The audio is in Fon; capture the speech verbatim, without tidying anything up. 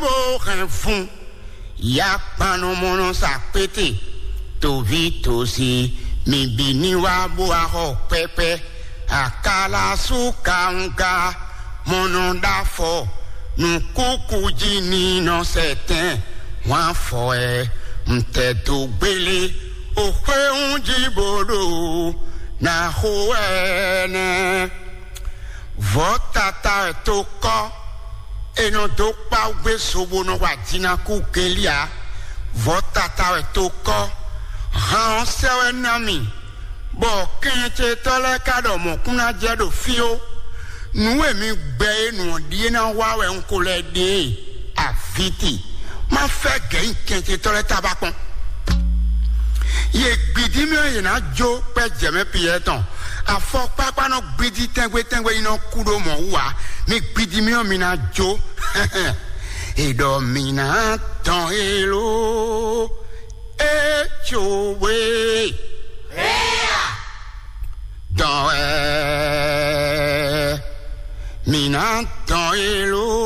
Mo hɛn fun, ya kpannɔ mɔnɔ sa kpete, toví tosi, mi bi ní wá bó wá xɔ kpɛkpɛ, akalasu kawunga, mɔnɔ ɖ'afɔ, nukúkú jí ní nɔ sɛtɛn, wọ́n á fɔ ɛ, ntɛ̀dó gbélé, òxwéhún jí bó ɖo, ná xo ɛnɛ. Vɔ̌ tata wɛ tó kɔ́, è nɔ dó kpá gbé so bó nɔ wa jǐnakú gɛ́nlí ǎ. Vɔ̌ tata wɛ tó kɔ́, han ɔ́ sɛ́ wɛ ná mì, bɔ kɛnnyɛcetɔ́ lɛ́ɛ ka ɖɔ mɔ̌kún ná jɛ ɖo fí ó. Nǔ e mi gbɛ é nǔ ɔ́ ɖíe ná wa wɛ un ko lɛ́ ɖe e, avǐti. Má fɛ́ gɛ̌ nyi kɛnnyɛcetɔ́ lɛ́ɛ tábá kpɔ́n. Yě gbidí mì ɔ́, yě ná jó kpɛ́ jɛ mɛ Piyɛ́ɛ tɔn. Afɔkpákpá nɔ gbidí tɛ́ngbé tɛ́ngbé, yi nɔ kú ɖó mɔ̌ wú ǎ. Mi gbidí mì ɔ́, mi ná jó. È ɖɔ mǐ ná dɔn éló, é cowé. Dɔn wɛ mǐ ná dɔn éló.